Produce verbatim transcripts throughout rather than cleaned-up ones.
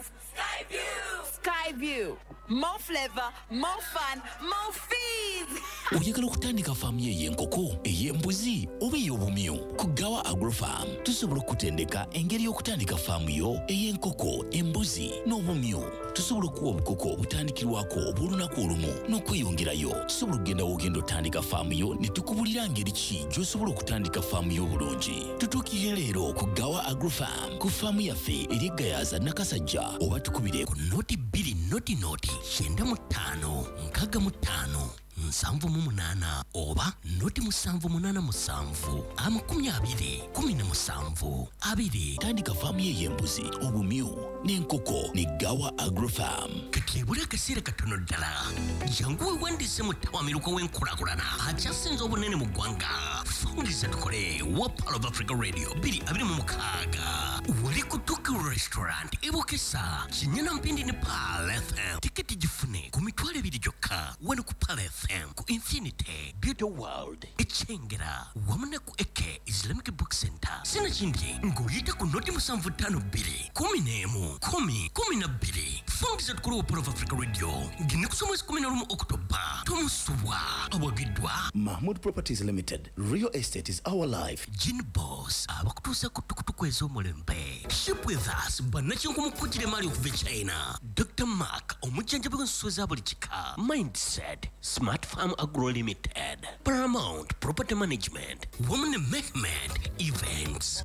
Skyview. More flavor, more fun, more fees. Oyagala okutandika faamu yo ey'enkoko, ey'embuzi oba ey'obumyu? Ku Gawa Agrofarm tusobola okukutendeka engeri y'okutandika faamu yo ey'enkoko, embuzi n'obumyu. Tusobola okuwa obukoko obutandikirwako obw'olunaku olumu n'okweyongerayo. Tusobola okugenda w'ogenda otandika faamu yo ne tukubulira ngeri ki gy'osobola okutandika faamu yo obulungi. Tutuukirire leero ku Gawa Agrofarm ku faamu yaffe eri Gayaza, Nakasajja, oba tukubire ku noti bbiri noti noti kyenda mu ttaano nkaaga mu ttaano nsanvu mu munaana oba noti musanvu munaana musanvu amakumi abiri kumi na musanvu abiri. Tandika faamu ye ey'embuzi, obumyu n'enkoko ne Gawa Agrofarm. Kati ebula akaseera katono ddala, jangu weewandiise mu ttawamiruka w'enkulaakulana akyasinze obunene mu ggwanga, Fungiza Tukole wa Pearl of Africa Radio bbiri abiri mu mukaaga, wali ku Tuki Restaurant ebukesa Kinyana Mpindi ne Pearl F M. Tiketi gifune ku mitwalo ebiri gyokka wano ku Pearl F M, ku Infinity Beauty World Ekyengera wamu ne ku Eke Islamic Book Center. Sinakindi ng'oyita ku noti musanvu ttaano bbiri kumi n'emu kumi kumi na bbiri. Fungiza Tukole wa Pearl of Africa Radio ng'ennaku z'omwezi kumi na lumu Okutoba tomusubwa. Awagiddwa Mahmood Properties Limited. Real estate is our life. Gin Boss abakutuusa ku tukutuku ez'omulembe, Ship With Us bannakinku emaali okuva e China, Doctor Mark omujjanjabi w'ensuwa eza buli kika, Mindset Smart Farm Agro Limited, Paramount Property Management wamu ne Mehmed Events.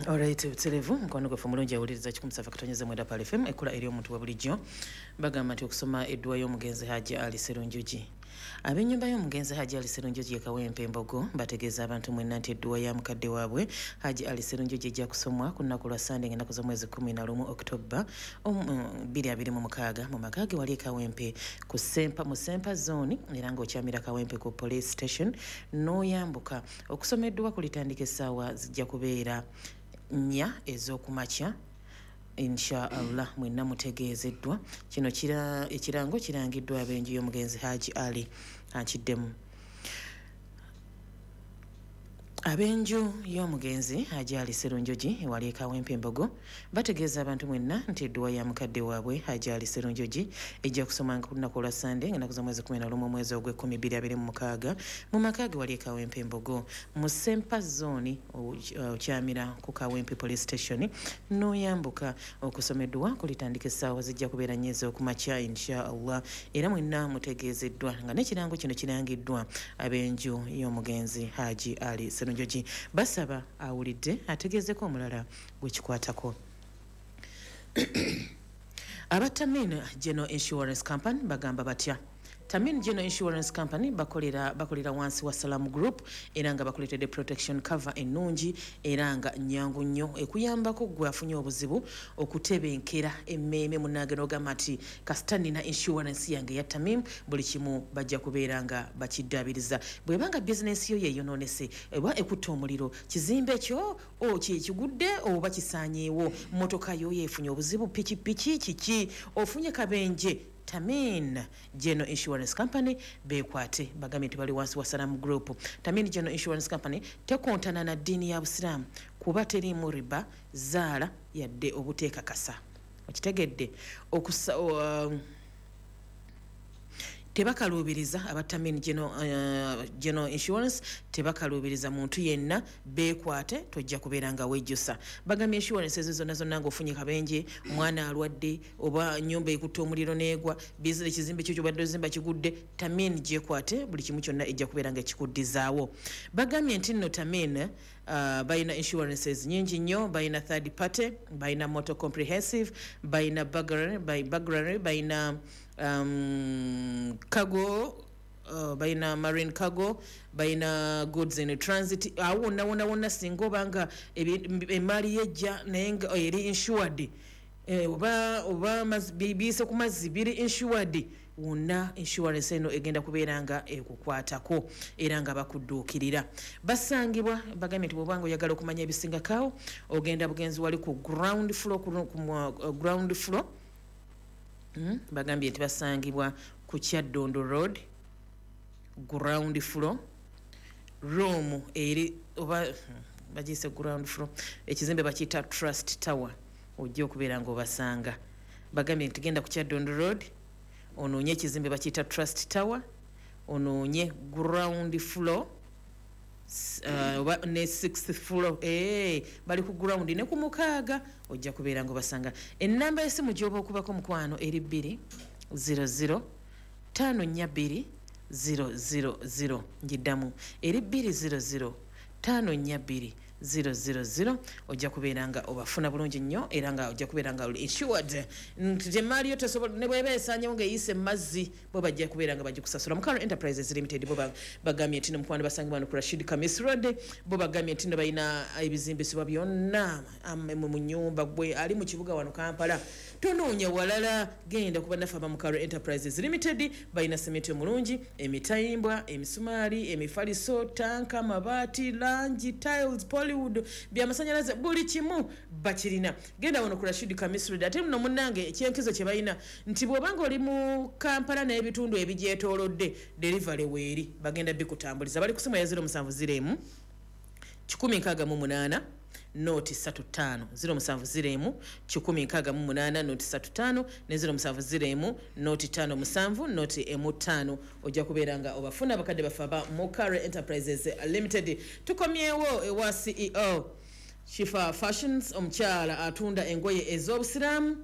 Alright, buterevu mukwano gwaffe omulungi awuliriza kikumi musanvu katonyeza mwenda Pearl F M, ekkula eri omuntu wa bulijjo. Bagamba nti okusoma edduwa y'omugenzi Haji Ali Serunjogi. Ab'ennyumba y'omugenzi Haji Ali Serunjogi e Kawempe Embogo bategeeza abantu mwenna nti edduwa ya mukadde waabwe Haji Ali Serunjogi ejja kusomwa ku lunaku lwa Sande ng'ennaku z'omwezi kumi na lumu Oktoba bbiri abiri mu mukaaga mu maka ge wali e Kawempe ku Sempa, mu Sempa Zone, era ng'okyamira Kawempe ku police station n'oyambuka. Okusoma edduwa kulitandika essaawa zijja kubeera nnya ez'okumakya, insha Allah. Mwenna mutegeezeddwa. Kino kira ekirango kirangiddwa ab'enju y'omugenzi Haji Ali. Akiddemu, ab'enju y'omugenzi Haji Ali Serunjogi ewali e Kawempe Embogo bategeeza abantu mwenna nti edduwa ya mukadde waabwe Haji Ali Serunjogi ejja kusomanga ku lunaku olwa Sande ng'ennaku z'omwezi kumi na lumu omwezi ogw'ekkumi bbiri abiri mu mukaaga mu maka ge wali e Kawempe Embogo mu Sempa Zone, okyamira ku Kawempe Police Station n'oyambuka. Okusoma edduwa kulitandika essaawa zijja kubeera nnya ez'okumakya, insha Allah, era mwenna mutegeezeddwa nga n'ekirango kino kirangiddwa ab'enju y'omugenzi Haji Ali Serunjogi. Basaba awulidde ategeezeko omulala gwekikwatako. Aba Tamin General Insurance Company bagamba batya? Tamin General Insurance Company bakolera bakolera wansi wa Salam Group, era nga bakuleetedde protection cover ennungi era nga nnyangu nnyo ekuyambako gwe afunye obuzibu okutebenkera emmeeme. Munnange, n'ogamba nti kasita nina insurance yange ya Tamim, buli kimu bajja kubeera nga bakiddaabiriza. Bw'ebanga bizinensi yo yeeyonoonese oba ekutta omuliro, kizimbe kyo o kikigudde oba kisaanyeewo, mmotoka yo yeefunye obuzibu, pikipiki kiki, ofunye kabenje, Tamin General Insurance Company bekwate. Bagambye nti bali wansi wa Salam Group. Tamin General Insurance Company tekontana na ddiini ya Busiraamu kuba teriimu riba, zaala yadde obuteekakasa. Okitegedde? Okusa uh, tebakaluubiriza. Aba Tamin General, uh, General Insurance tebakaluubiriza muntu yenna. Beekwate, tojja kubeera nga wejjusa. Bagambye insurance ezo zonna zonna ng'ofunye kabenje, omwana alwadde, oba nyumba ekutta omuliro n'egwa, bizinesi, ekizimbe kyo kyobadde ozimba kigudde, Tamin gyekwate, buli kimu kyonna ejja kubeera nga ekikuddizaawo. Bagambye nti nno Tamin uh, balina insurances nyingi nnyo. Balina third party, balina motor comprehensive, balina burglary, burglary, balina um, cargo, uh, balina marine cargo, balina goods in transit. Awo wonna wonna wonna singa obanga emaali yejja naye nga eri insured, eh, oba oba biyise ku mazzi, biri insured wonna, insurance eno egenda kubeera nga ekukwatako era nga bakudduukirira. Basangibwa, bagambye nti bw'obanga oyagala okumanya ebisingakaawo, ogenda bugenzi wali ku ground floor, ku, ku, uh, ground floor mm? Bagambye nti basangibwa ku Kyaddondo Road, ground floor, room eri oba hmm, bagiyise ground floor, ekizimbe bakiyita Trust Tower. Ojja okubeera ng'obasanga. Bagambye nti genda ku Kyadondo Road, onoonye ekizimbe bakiyita Trust Tower, onoonye ground floor uh, oba ne sixth floor, eh, bali ku ground ne ku mukaaga, ojja kubeera ng'obasanga. Ennamba y'essimu gy'oba okubako mukwano eri bbiri zero zero ttaano nnya bbiri zero zero zero. Ngiddamu, eri bbiri zero zero ttaano nnya bbiri zero zero zero. Ojja kubeera nga obafuna bulungi nnyo, era nga ojja kubeera nga oli insured nti emaali yo tesobola ne bw'eba esaanyewo ng'eyise mu mazzi, bo bajja kubeera nga bagikusasula. Mukalo Enterprises Limited bo ba- bagambye nti no mukwano basangibwa wano ku Rashid Kamis Road. Bo bagambye nti no balina ebizimbisibwa byonna am- mu mu nnyumba. Gwe ali mu kibuga wano Kampala, tonoonya walala, genda ku bannaffe aba Mukalo Enterprises Limited. Balina sementi omulungi, emitayimbwa, emisumaali, emifaliso, tanka, amabaati, langi, tiles, polywood, byamasanyalaze, buli kimu bakirina. Genda wano ku Rashid Kamis Road. Ate muno munnange ekyenkizo kye balina nti bw'obanga oli mu Kampala n'ebitundu ebigyetoolodde, delivery weeri, bagenda bikutambuliza. Bali ku simu ya zero musanvu zero emu kikumi nkaaga mu munaana nooti ssatu ttaano, zero musanvu zero emu kikumi nkaaga mu munaana nooti ssatu ttaano ne zero musanvu zero emu nooti ttaano musanvu nooti emu ttaano. Ojja kubeera nga obafuna abakadde baffe aba Mukare Enterprises Limited. Tukomyewo ewa C E O Shifa Fashions, omukyala atunda engoye ez'obusiraamu,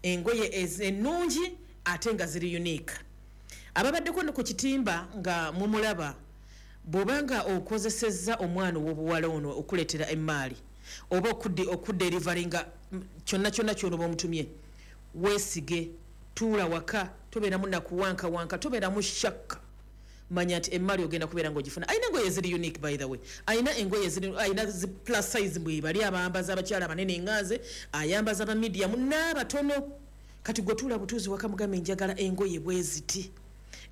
engoye ez- ennungi ate nga ziri unique. Ababaddeko no ku kitimba nga mumulaba, bw'obanga okozesezza omwana ow'obuwala ono okuleetera emaali oba okudde okudeliveringa mm, kyonna kyonna kyonoba omutumye, weesige, tuula waka, tobeeramu nakuwankawanka, tobeeramu shakka. Manya nti emaali ogenda kubeera ng'ogifuna. Alina engoye eziri unique, by the way. Alina engoye eziri, alina zi plus size, mbwe bali abambaza abakyala abanene enganze, ayambaza aba medium n'abatono. Kati gwe tuula butuuzi waka, mugambe njagala engoye bwe ziti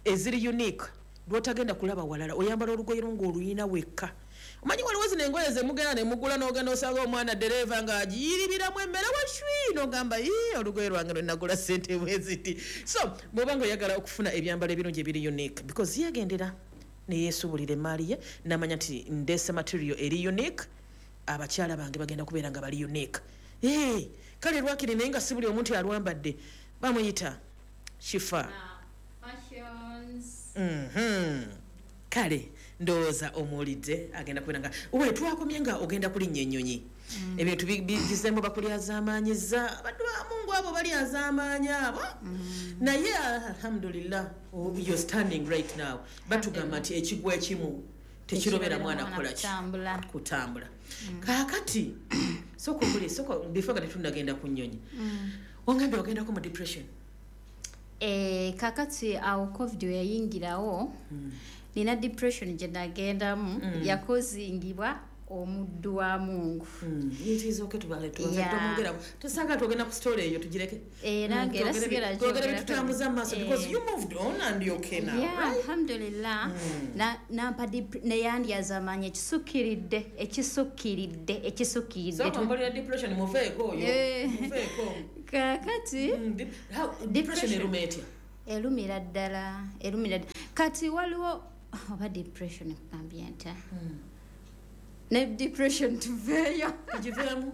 eziri unique lwotagenda kulaba walala. Oyambala olugoye lwo ng'oluyina wekka. Omanyi waliwo zino engoye zemugenda nemugula, n'ogenda osanga omwana dereva ng'agiyiribiramu emmere washwi, n'ogamba, "Ii, olugoye lwange lwe nagula sente bwe ziti." So bw'oba nga oyagala okufuna ebyambalo ebirungi ebiri unique, because yegendera neyeesubulira emaali ye n'amanya nti ndeese material eri unique, abakyala bange bagenda kubeera nga bali unique. Hey, kale lwakiri naye nga si buli omuntu alwambadde. Bamuyita Shifa Fashions. Mhm. Kale ndowooza omuwulidde. Agenda kubeera nga we twakomye nga ogenda kulinnya ennyonyi, ebintu bi- bigizeemu, bakulyazaamaanyiza abaddu ba Mungu abo balyazaamaanyi abo, naye alhamdulillah, oh, you're standing right now. Batugamba nti ekigwa ekimu tekirobera mwana kukola ki? Kutambula. Kutambula. Kaakati sooka obuli sooka before nga tetunnagenda ku nnyonyi, ongambye ogendako mu depression. Eh, kakati awo COVID we yayingirawo, nina depression gye nagendamu yakozingibwa omuddu wa Mungu. Yitiiza tubale. Yeah. Tumwogera tosanga twogenda ku story eyo, tugireke. Era Mm, nga era twogere sigera bi- twogere gyogerako. bitutambuza mu maaso because Eh. you moved on and you're okay now, Yeah, right? alhamdulillah. Na- nampa dep- neyandyazaamaanyi ekisukkiridde, ekisukkiridde, ekisukkiridde. Sooka mbalira depression, muveeko oyo. Eh. Muveeko. Kakati Mm, dep- how- depression Depression. eruma etya? Erumira ddala, erumira ddala. Kati waliwo oba depression kugambye ntya ne depression tuveeyo. Tugiveemu.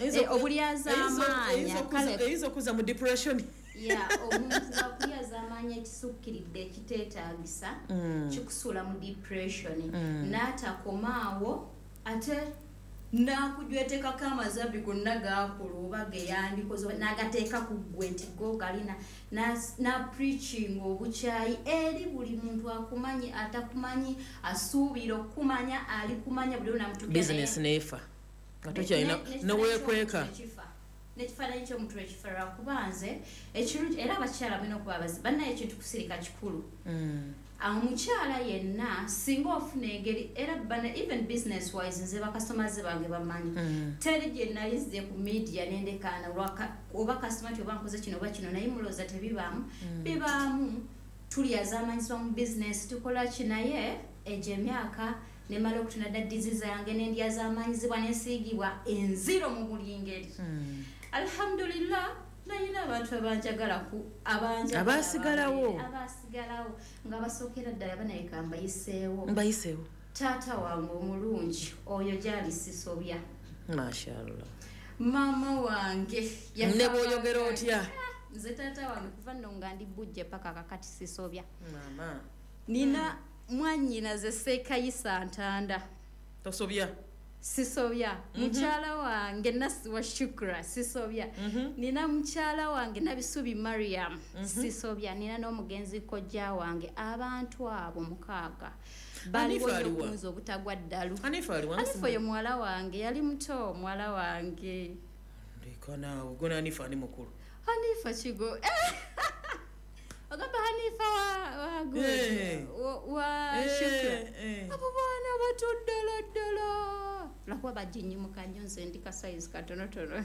Eh, obulyazaamaanyi, kale- Eyinza okuza mu depression. Ya, omuntu bwakulyazaamaanyi ekisukkiridde ekiteetaagisa, kikusuula mu depression. N'atakomaawo ate n'akujwetekako amazambi gonna gakola oba geyandikoze n'agateeka ku ggwe nti go galina, napreaching obukyayi eri buli muntu akumanyi, atakumanyi, asuubira okukumanya, ali kumanya buli onamutukira. Business neefa nga tokyalina neweekweka. N'ekifaananyi ky'omuntu ekifa, lwakuba nze ekirungi era abakyala mulina okuba abazi bannaye, ekintu kusirika kikulu. Omukyala yenna singa ofuna engeri era bana, even business wise, nze bakasitomaze bange bamanyi, teri gye nali nzize ku media nendekaana lwaka- oba kasitoma ti oba nkoze kino oba kino, naye mulowooza tebibaamu. Bibaamu, tulyazaamanyisibwa mu business, tukola ki, naye egyo emyaka nemala okutunda dda dizi zange nendyazaamanyizibwa nensiigibwa enziro mu buli ngeri. Alhamdulillah, nayina abantu abanjagala ku abanjagala. Abaasigalawo. Abaasigalawo nga basookera ddala banayeka mbayiseewo. Mbayiseewo. Taata wange omulungi oyo gyali sisobya. Mashallah. Maama wange ne bw'oyogera otya? Nze taata wange kuva nno nga ndi bujje paka kakati sisobya. Maama nina mwannyinaze Ssekayisa Ntanda. Tosobya? Sisobya. Mhm. Mukyala wange Nasiwa Shukra, sisobya. Mhm. Nina mukyala wange Nabisubi Mariam, Mhm. sisobya. Nina n'omugenzi kojja wange. Abantu abo mukaaga baliwo Hanifa aliwa? okunza obutagwa ddalu. Hanifa aliwa? Hanifa oyo muwala wange, yali muto muwala wange. Ndeka naawe, gwe Hanifa ani mukulu? Hanifa kigo. Ogamba Hanifa wa, wa good. Eh. Wa, wa Eh, Shukra. eh. Abo baana bato ddala ddala. Lwakuba bajinyimuka nnyo, nze ndi ka size katonotono.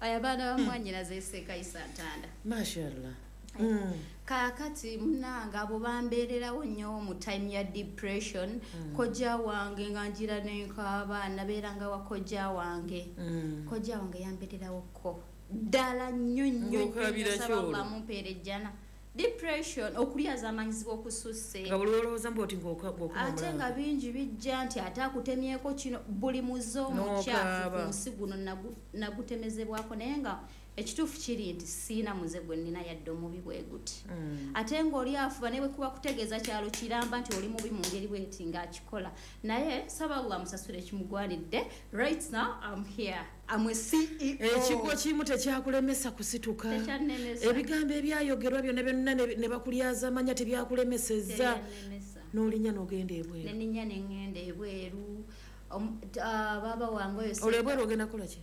Aya baana ba mwannyinaze Ssekayisa Ntanda. Mashallah. Mm. Kaakati munnange abo bambeererawo nnyo mu time ya depression. Mm. Kojja wange nga ngira nenkaaba, nabeeranga wa kojja wange. Mm. Kojja wange yambeererawokko ddala nnyo nnyo nnyo, Ng'okaabira nsaba ki olwo? Allah mumpeere ejjana. Depression, okulyazaamanyizibwa okususse. Nga buli lw'olowooza mbu oti ng'oka-, ng'okuma Ate omulanga. nga bingi bijja nti ate akutemyeko kino, buli muze omukyafu N'okaaba. ku nsi guno nagu-, nagutemezebwako, naye nga ekituufu kiri nti siina muze gwe nnina yadde omubi bwe guti. Mm. Ate ng'oli afuba ne bwe kuba kutegeeza kyalo kiramba nti oli mubi mu ngeri bw'eti ng'akikola. Naye nsaba Allah amusasule ekimugwanidde. Right now I'm here. I'm a C E O. Ekigwo kimu tekyakulemesa kusituka. Tekyannemesa. Ebigambo ebyayogerwa byonna byonna ne, ne bakulyazaamanya tebyakulemesezza. Tekyannemesa. N'olinnya n'ogenda ebweru. Ne nninnya ne ŋŋenda ebweru. Omu-, t-, ah, baaba wange oyo Olwo ebweru ogenda kukola ki?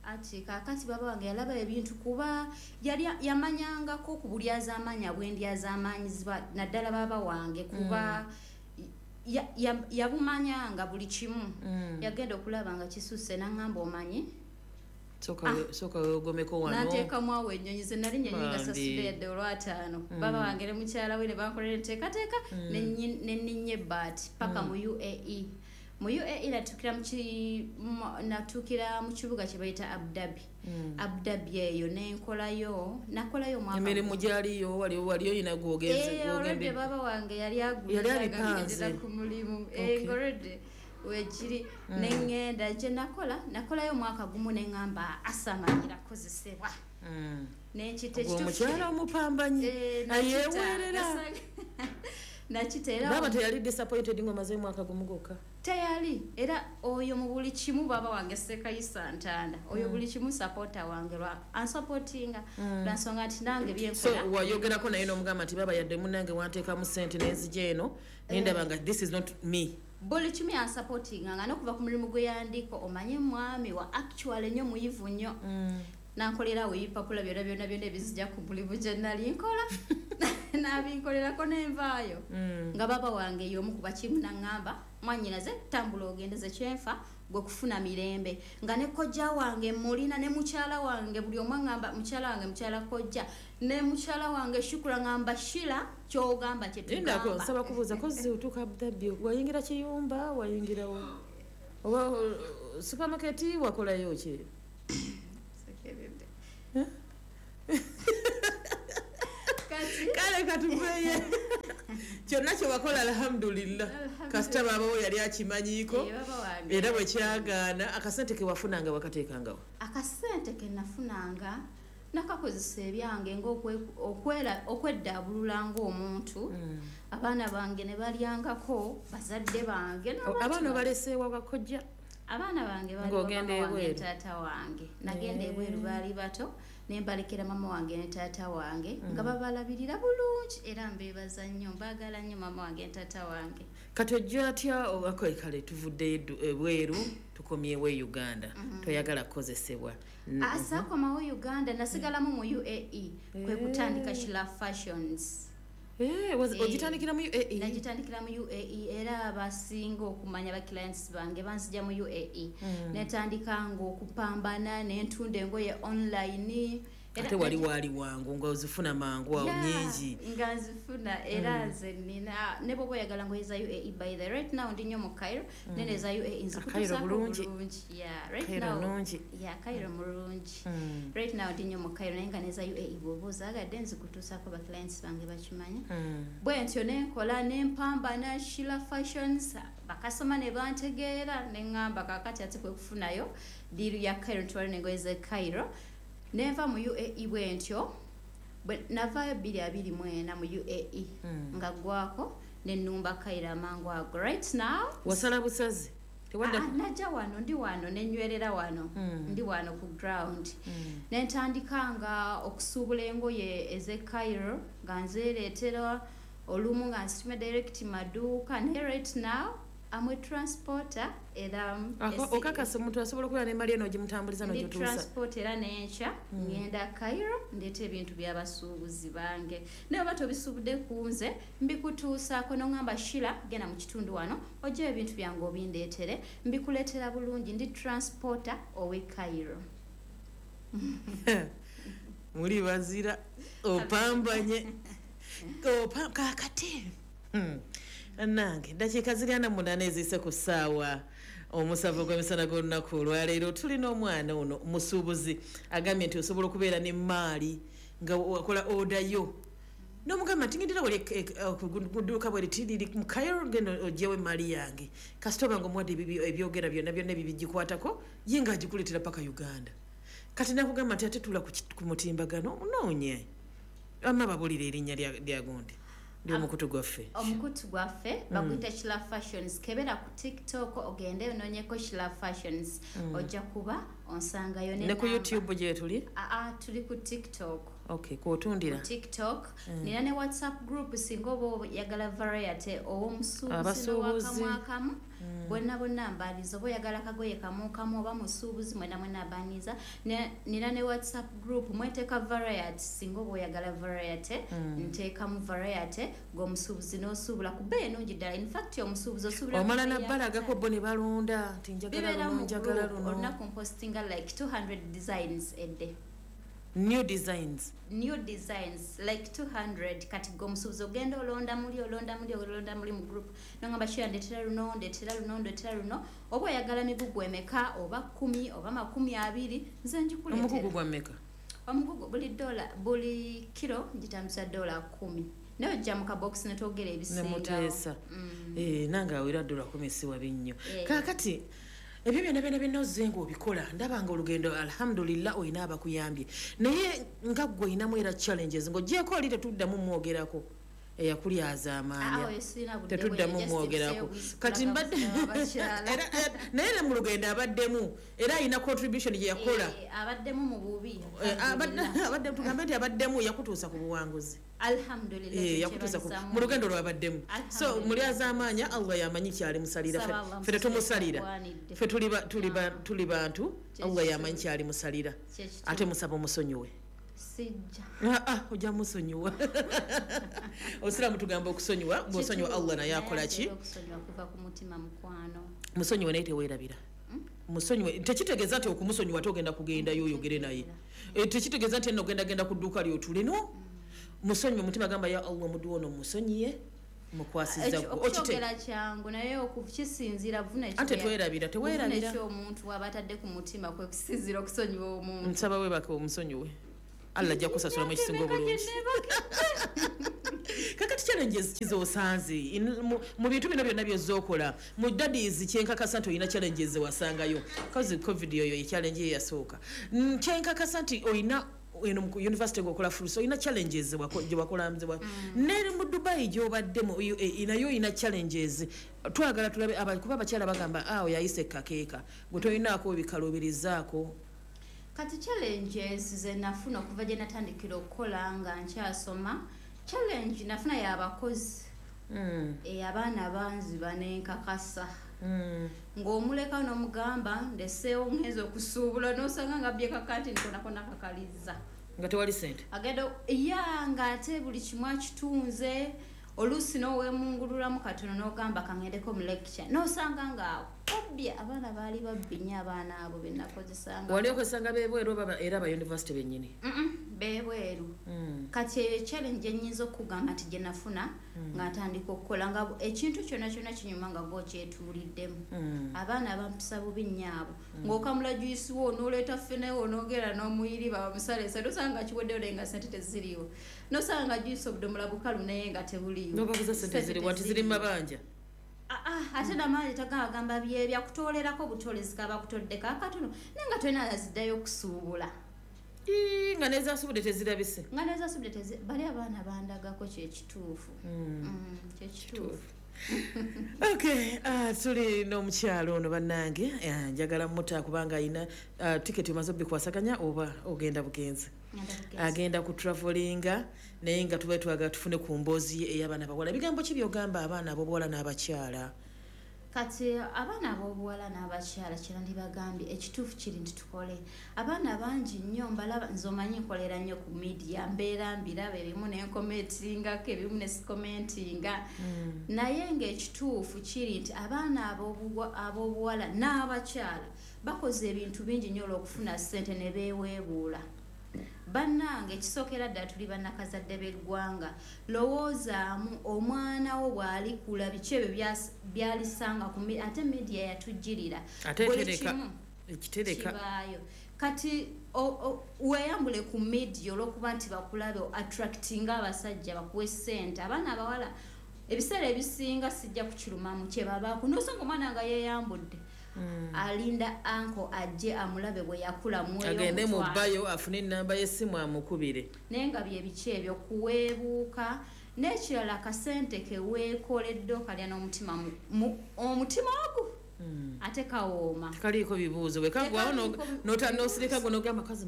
Ati kaakati baaba wange yalaba ebintu kuba yali yamanyangako ku bulyazaamaanya bw'endyazaamaanyizibwa, naddala baaba wange kuba Mm. ya-, ya-, yabumanyanga buli kimu. Mm. Yagenda okulaba nga kisusse n'aŋŋamba omanyi. Sooka Ah. we-, sooka weegomeko wano. N'ateekamu awo ennyonyi ze nali nnyonyi nga Bambi. sasudde yadde olwataano. Mm. Baaba wange ne mukyala we ne bankolera enteekateeka, Mm. ne nnyi-, ne nninnya ebbaati paka Mm. mu U A E. Mu U A E natuukira mu ki-, mu-, natuukira mu kibuga kye bayita Abu Dhabi. Mm. Abu Dhabi eyo ne nkolayo, nakolayo omwaka Emirimu gumu. gyaliyo, wali, wali oyina gw'ogenze, Eh, gw'ogendedde. already baaba wange yali agudde Yali nga abipanze. ngendera ku mulimu. Eh, Okay. ng'already wekiri. Mm. Ne ŋŋenda gye nakola, nakolayo omwaka gumu ne ŋŋamba asamanyira kukozesebwa. Mm. Ne nkita Ogwo ekituufu omukyala kiri. omupambanyi, Eh, nakita, ayeeweerera. nasanga- Nakita era Baaba omu- teyali disappointed ng'omaze omwaka gumu gwokka? Teyali. Era oyo mu buli kimu baaba wange Ssekayisa Ntanda. Oyo Mm. buli kimu supporter wange lwa ansupportinga. Mm. Lwa nsonga nti nange bye So, nkola. wayogerako naye n'omugamba nti baaba yadde munnange wanteekamu ssente n'enzija eno, ne ndaba nga this is not me. Buli kimu yansupportinga nga n'okuva ku mulimu gwe yandiko, omanye mwami wa actual nnyo muyivu nnyo. Mm. Nankolerawo ebipapula byonna byonna byonna ebizija ku mulimu gye nali nkola. N'abinkolerako n'envaayo. Mm. Nga baaba wange y'omu ku bakimu n'aŋŋamba, mwannyinaze tambula ogendeze kyenfa gwe kufuna mirembe. Nga ne kojja wange mulina ne mukyala wange buli omu aŋŋamba mukyala wange mukyala kojja ne mukyala wange Shukura ŋŋamba Shila ky'ogamba kye Lindako, tugamba. nsaba kubuuza, kozzi otuuka Abu Dhabi, wayingira kiyumba, wayingira wa? Oba, uh, supermarket wakolayo ki? Sekeredde. Eh? Kati? Kale katuveeyo. Kyonna kye wakola alhamdulillah. Alhamdulillah. Kasita baaba wo yali akimanyiiko. Eh, baba wange. Era bwe kyagaana, akasente ke wafunanga wakateekangawo? Akasente ke nafunanga nakakozesa ebyange ng'okwe-, okwera-, okweddaabulula ng'omuntu. Mm. Abaana bange ne balyangako, bazadde bange O, n'abantu abaana bange. obaleseewa bakojja? Abaana bange baali Ng'ogenda mama wange ebweru. taata wange. Nagenda Eh. ebweru baali bato, ne mbalekera mama wange ne taata wange, Mm. nga babalabirira bulungi era mbeebaza nnyo, mbaagala nnyo mama wange ne taata wange. Kati ojja atya, o, okay, kale tuvuddeyo eddu-, ebweru, tukomyewo e Uganda. Mm-hmm. Toyagala kukozesebwa. Mm-hmm. Ah, saakomawo Uganda, nasigalamu mu U A E, kwe Eh. kutandika Shila Fashions. Eh, was, Eh, ogitandikira mu U A E? Nagitandikira mu U A E era abasinga okumanya ba clients bange banzija mu U A E. Mm. Netandika ng'okupambana ne ntunda engoye online, Ate wali wali wangu nga ozifuna mangu awo nyingi. Nga nzifuna era nze nina ne bw'oba oyagala ngoye za U A E by the right now ndi nnyo mu Cairo nene za U A E nzikutuusaako bulungi. Yeah, right Cairo now. Nungi. Yeah, Cairo mulungi. Right now ndi nnyo mu Cairo naye nga ne za U A E bw'oba ozaagadde nzikutuusaako ba clients bange bakimanya. Bwe ntyo ne nkola ne mpambana Shila Fashions bakasoma ne bantegeera ne ŋŋamba kaakati ate kwe kufunayo deal ya Cairo ntwale n'engoye z'e Cairo. Nenva mu U A E bwe ntyo navaayo bbiri abiri mu ena mu U A E nga ggwako ne nnumba Cairo amangu ago. Right now wasala busazi tewadda najja wano ndi wano ne nnywerera wano ndi wano ku ground ne ntandika nga okusuubula engoye ez'e Cairo nga nzeereetera olumu nga nsituma direct maduuka naye right now I'm a transporter era okakasa omuntu asobola okubeera n'emmali eno ogimutambuliza n'ogituusa. Transport era n'enkya ngenda Cairo ndeeta ebintu by'abasuubuzi bange naye oba tobisuubudde ku nze mbikutuusaako n'oŋŋamba Shila genda mu kitundu wano oggyeyo ebintu byange obindeetere mbikuleetera bulungi ndi transporter ow'e Cairo. Muli bazira opambanye kaakati nange dakiika ziri ana munaana eziyise ku ssaawa omusanvu gw'emisana gw'olunaku olwaleero tulina omwana ono musuubuzi agambye nti osobola okubeera n'emmaali nga wakola oda yo n'omugamba nti ngendera wali ku dduuka bwe liti liri mu Cairo genda oggyewo emmaali yange kasita oba nga omuwadde ebyogera byonna byonna ebibigikwatako ye ng'agikuleetera paka Uganda. Kati nakugamba nti ate tuula ku mutimbagano onoonye amma babuulire erinnya lya gundi ndi omukutu gwaffe. Omukutu gwaffe baguyita Shila Fashions. Kebera ku TikTok ogende onoonyeko Shila Fashions ojja kuba onsangayo ne ku YouTube gye tuli? Aa tuli ku TikTok. Okay, kw'otundira ku TikTok. Nina ne WhatsApp group singa oba oyagala variety ow'omusuubuzi n'owakamu bonna bonna mbaaniza oba oyagala kagoye kamu kamu oba musuubuzi mwena mwena mbaaniza. Nina ne WhatsApp group mweteeka variety singa oba oyagala variety nteekamu variety ng'omusuubuzi n'osuubula ku bbeeyi ennungi ddala. In fact omusuubuzi osuubula omala nabbalagako bo ne balonda nti njagala luno njagala luno. Olunaku mpostinga like two hundred designs a day. New designs. New designs like two hundred kati gwe omusuubuzi ogenda olonda muli olonda muli olonda muli mu group nongamba Shila ndeetera luno ndeetera luno ndeetera luno oba oyagala migugu emeka oba kkumi oba makumi abiri nze njikuleetera. Omugugu gwa mmeka? Omugugu buli dola buli kiro ngitambuza dola kkumi naye ojja mu kabokisi ne twogera ebisingawo. Ne muteesa. Eh nange awera dola kkumi si wabi nnyo. Kaakati ebyo byonna byonna byonna ozze ng'obikola ndaba nga olugendo alhamdulillah olina abakuyambye naye nga ggwe olinamu era challenges ng'oggyeko oli tetuddamu mwogerako eyakulyaza amaanya tetuddamu mwogerako kati mbadde naye ne mu lugendo abaddemu era alina contribution gye yakola abaddemu mu bubi abaddemu tugambe nti abaddemu yakutuusa ku buwanguzi. Alhamdulillah yakutuusa mu lugendo lwabaddemu. So mulyaza amaanya Allah yamanyi kyali musalira ffe tetumusalira ffe tuli bantu Allah yamanyi kyali musalira ate musaba omusonyiwe. Sijja. Ah ojja musonyiwa. Osiramu tugamba okusonyiwa bw'osonyiwa Allah naye akola ki? Okusonyiwa kuva ku mutima mukwano. Musonyiwe naye teweerabira. Musonyiwe tekitegeeza nti okumusonyiwa togenda kugendayo oyogere naye. Tekitegeeza nti nno ogenda genda ku dduuka ly'otule no. Musonyiwe mutima gamba ya Allah muddu ono musonyiye mukwasiza okyogera kyangu naye okukisinziira vuna ekyo ate tewerabira tewerabira ekyo omuntu aba atadde ku mutima kwe kusinziira okusonyiwa omuntu. Nsaba weebake omusonyiwe Allah ajja kusasulamu ekisinga obulungi. Kakati challenges kizosanze mu bintu bino byonna by'ozookola mu daddies kyenkakasa nti olina challenges wasangayo cause covid yoyo ye challenge ye yasooka kyenkakasa nti olina eno mu university ng'okola fursa olina challenges gye wakola ne mu Dubai gy'obaddemu U A E nayo olina challenges twagala tulabe kuba abakyala bagamba awo yayise kakeeka gwe tolinaako ebikaluubirizaako. Kati challenges ze nafuna okuva gye natandikira okukola nga nkyasoma challenge nafuna y'abakozi mm. e abaana banzi banenkakasa mm. ng'omuleka n'omugamba ndeseewo ngenza okusuubula n'osanga nga abbye kakati nkonakona kakaliza nga tewali ssente agenda ya ng'ate buli kimu akitunze oluusi n'oweemungululamu katono n'ogamba kangendeko mu lecture n'osanga nga obbye abaana baali babbi nnyo abaana abo be nakozesanga. Wali okozesanga b'ebweru oba era aba university bennyini? Bebweru. Mm. Kati eyo challenge ennyinza okugamba nti gye nafuna mm. nga ntandika okukola nga ekintu kyonna kyonna kinyuma nga gw'okyetuuliddemu. Mm. Abaana bampisa bubi nnyo abo. Mm. Ng'okamula juyisi wo n'oleeta ffene wo n'ogera n'omuyiriba bamusale ssente osanga kiweddeyo naye nga ssente teziriiwo. N'osanga juyisi obudomola bukalu naye nga tebuliiwo. N'obabuuza ssente ziriwa nti ziri mu mabanja. Ah ah, ate n'amaanyi tagagamba byebya kutoolerako butolezi kaba kutoddeko akatono naye nga tolina aziddayo okusuubula. Nga n'ezasubudde tezirabise. Nga n'ezasubudde tezi bali abaana bandagako kye kituufu. Mm, kye kituufu. Okay, uh, tuli n'omukyalo ono bannange, uh, njagala muta kubanga ayina uh, tiketi omaze obikwasaganya oba ogenda bugenzi. Agenda ku travelinga naye nga tuba twagala tufune ku mboozi ye ey'abaana abawala. Ebigambo ki by'ogamba abaana ab'obuwala n'abakyala? Kati abaana ab'obuwala n'abakyala kye nandibagambye ekituufu kiri nti tukole. Abaana bangi nnyo mbalaba nze omanyi nkolera nnyo ku media mbeera mbiraba ebimu ne nkomentingako ebimu ne sikomentinga. Mm. Naye ng'ekituufu kiri nti abaana ab'obuwala n'abakyala bakoze ebintu bingi nnyo olw'okufuna ssente ne beeweebuula. Bannange ekisookera ddala tuli bannakazadde b'eggwanga, lowoozaamu omwana wo bw'alikula biki ebyo by'alisanga ku ate media yatujjirira buli kimu kibaayo. Kati weeyambule ku media olw'okuba nti bakulabe attractinga abasajja bakuwe ssente. Abaana abawala ebiseera ebisinga sijja kukirumamu kye babaako n'osanga omwana nga yeeyambudde. Mm. Alinda anko ajje amulabe bwe yakula mweyo agende mu bayo afune enamba y'essimu amukubire naye nga bye biki ebyo kuweebuuka. N'ekirala akasente ke weekoledde okalya n'omutima omutima ogwo mm. ate kawooma tekaliiko bibuuzo bwe kagwawo n'osirika gwe n'ogamba kazi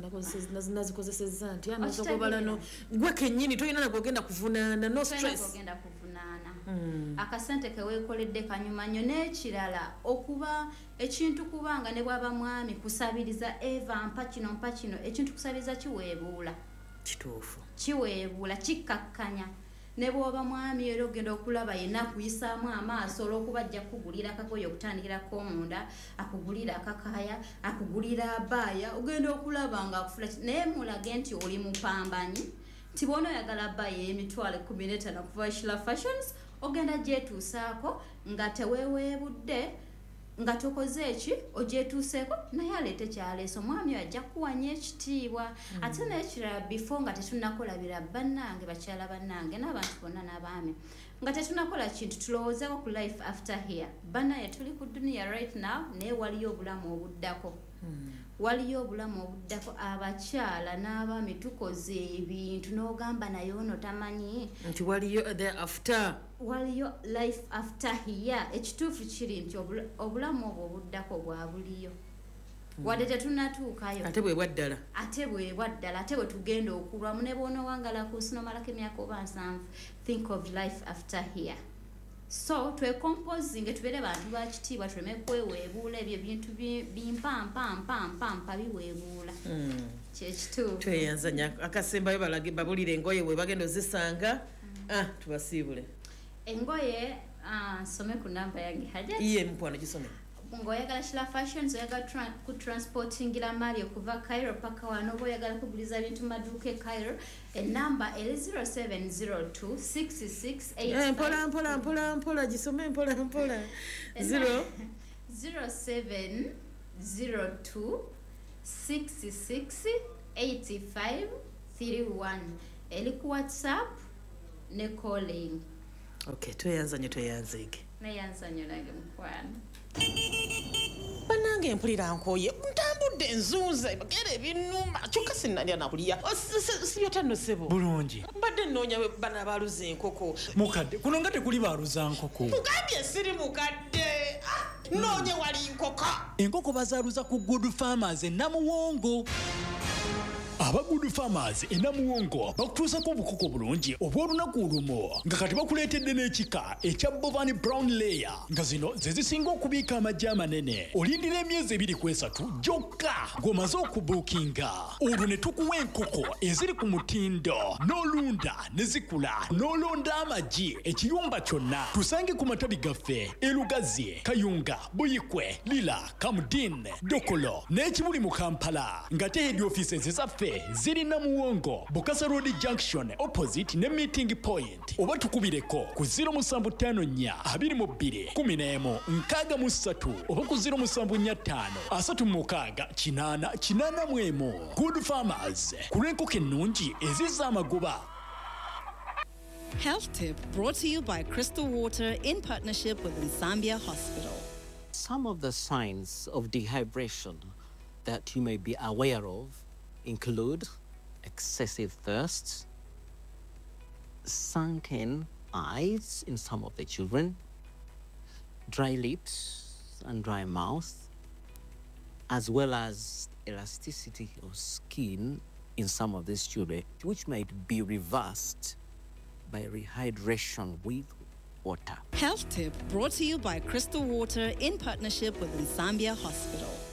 nazikozesezza nti anozokobala no gwe kennyini tolina nagwe ogenda kuvunaana no stress ogenda kuvunaana. Mm. Akasente ke weekoledde kanyuma nnyo. N'ekirala okuba ekintu kubanga ne bw'aba mwami kusabiriza Eva mpa kino mpa kino ekintu kusabiriza kiweebuula kituufu kiweebuula kikkakkanya. Ne bw'oba mwami era ogenda okulaba yenna akuyisaamu amaaso olw'okuba ajja kukugulira akagoye okutandikirako omunda, akugulira akakaya, akugulira abaaya, ogenda okulaba nga akufula naye mulage nti oli mupambanyi nti bw'ono oyagala abaaya ey'emitwalo ekkumi n'etaano okuva Shila Fashions ogenda gyetuusaako nga teweeweebudde nga tokoze eki ogyetuuseeko naye aleete kyaleese omwami oyo ajja kukuwanya ekitiibwa. Mm. Ate n'ekirala before nga tetunnakola bira bannange bakyala bannange n'abantu bonna n'abaami nga tetunnakola kintu tulowoozeeko ku life after here. Bannaye tuli ku duniya right now naye waliyo obulamu obuddako. Mm. Waliyo obulamu obuddako abakyala n'abaami tukoze ebintu n'ogamba naye ono tamanyi nti waliyo the after waliyo life after here. Ekituufu kiri nti obulamu obwo obuddako bwa buliyo. Mm. Wadde tetunnatuukayo ate bwe bwaddala ate bwe bwaddala ate bwe tugenda okulwamu ne bw'onoowangala ku nsi n'omalako emyaka oba nsanvu think of life after here. So twecomposinge tubeere bantu ba kitiibwa tuleme kweweebuula ebyo ebintu bimpa mpa mpa mpa mpa biweebuula. Kyekituufu. Tweyanza nnyo akasembayo balage babulire engoye bwe bagenda ozisanga. Mm. Ah, tubasiibule engoye. Nsome ku namba yange Hajat. Iye mukwano gisome. Ng'oyagala Shila Fashions, oyagala ku transportingira mali okuva Cairo paka wano, oba oyagala kuguliza bintu mu maduuka e Cairo, enamba eri zero seven zero two six six eight five. Mpola mpola mpola mpola gisome mpola mpola. zero zero seven zero two six six eight five three one eri ku WhatsApp ne calling. Okay, tweyanza nnyo tweyanzeege. Neyanza nnyo nange mukwano. Bannange mpulira nkooye ntambudde nzunze bagere ebinnuma kyokka sinnalya nakulya sibyota ssebo bulungi mbadde nnoonya bano abaaluza enkoko mukadde kuno nga tekuli baaluza nkoko mugambye siri mukadde nnoonye wali nkoko enkoko bazaaluza ku Good Farmers e Namuwongo. Aba Good Farmers e Namuwongo bakutuusako obukoko bulungi obw'olunaku olumu nga kati bakuleetedde n'ekika ekya Bovani Brown Layer nga zino ze zisinga okubiika amagi amanene. Olindira emyezi ebiri ku esatu gyokka ng'omaze okubuukinga olwo ne tukuwa enkoko eziri ku mutindo n'olunda ne zikula n'olonda amagi ekiyumba kyonna. Tusange ku matabi gaffe e Lugazi, Kayunga, Buyikwe, Lira, Kamudin, Dokolo n'ekibuli mu Kampala nga te head offices zaffe Ate ziri Namuwongo, Bukasa Road Junction opposite ne meeting point, oba tukubireko ku zero musanvu ttaano nnya abiri mu bbiri kumi n'emu nkaaga mu ssatu oba ku zero musanvu nnya ttaano asatu mu mukaaga kinaana kinaana mu emu. Good Farmers, ku lw'enkoko ennungi ezizza amagoba. Health Tip brought to you by Crystal Water in partnership with Nsambya Hospital. Some of the signs of dehydration that you may be aware of include excessive thirst, sunken eyes in some of the children, dry lips and dry mouth, as well as elasticity of skin in some of these children, which might be reversed by rehydration with water. Health Tip brought to you by Crystal Water in partnership with Nsambya Hospital.